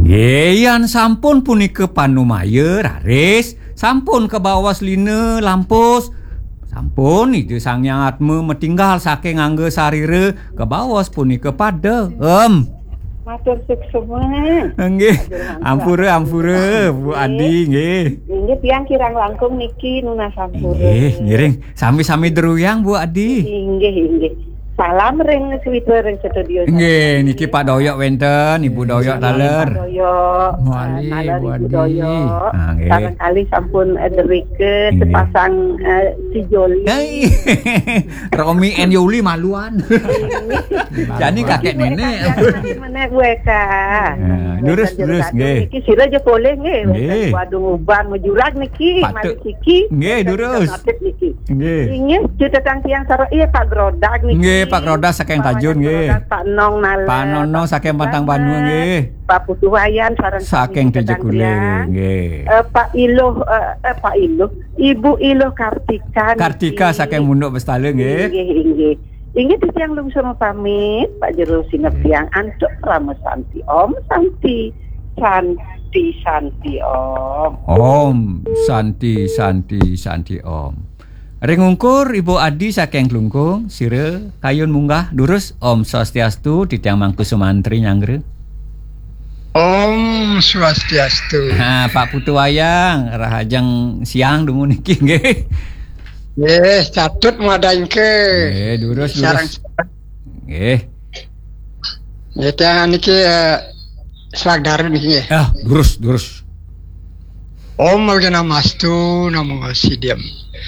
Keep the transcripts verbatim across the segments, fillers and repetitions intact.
Nggih, yan sampun punika panumaya raris, sampun kabaos lina lampus. Sampun Ida Sang Hyang Atma matinggal saking angga sarira, kabaos punika pada. Em. Matur suksma. Nggih. Ampura, ampura, Bu Adi, nggih. Inggih, tiang kirang langkung niki nunas ampura. Nggih, ngiring. Sami-sami druyang, Bu Adi. Inggih, inggih. Salam ring Switwa ring studio. Nggih, niki Pak Doyok wenten, Ibu Doyok taler. Pak Doyok, Wali, eh, taler Bu Ibu Adi. Doyok. Ah, nggih. Barangkali sampun, eh, derika sepasang, eh, sejoli. Hei. Romi and Yuli maluan. Jani kakek nenek. Menek weka. Ya, durus, durus, nggih. Niki sira aja polih nggih. Nggih. Waduh, uban majurag niki, patut. Mari siki. Nggih, durus. Niki. Nggih. Inggih, cutetang tiang sareng, iya, Pak Grodak niki. Nggih, Pak Grodak saking Tajun, nggih. Pak Nong Naler. Pak Nono saking Pantang Banua, nggih. Pak Putu Wayan sareng saking Tujuh Kuling, nggih. Eh, Pak Iluh, eh, eh, Pak Iluh. Ibu Iluh Kartika niki. Kartika saking Munduk Bestala, nggih. Inggih, inggih. Inggih titiang lungsur pamit, Pak Jero sineb tiang antuk Rama Santi. Om Santi, Santi, Santi Om. Om Santi, Santi, Santi Om. Ring ungkur Ibu Adi saking Klungkung, sira kayun munggah durus. Om Swastiastu, titiang Mangku Sumantri nyanggra. Om Swastiastu. Ha, Pak Putu Wayang, rahajeng siang dumun niki nggih. Nggih, catut madangke. Nggih, durus, durus. Sareng nggih. Nggih, tiang niki, eh, selagdare niki nggih. Ah, durus, durus. Om Awighnamastu Namo Siddham.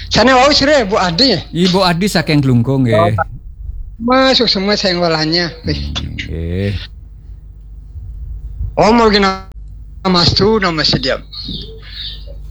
Sane wau sira Bu Adi nggih? Ibu Adi saking Klungkung nggih. Oh, masuk semua saya ngolahnya. Nggih. Om Awighnamastu Namo Siddham.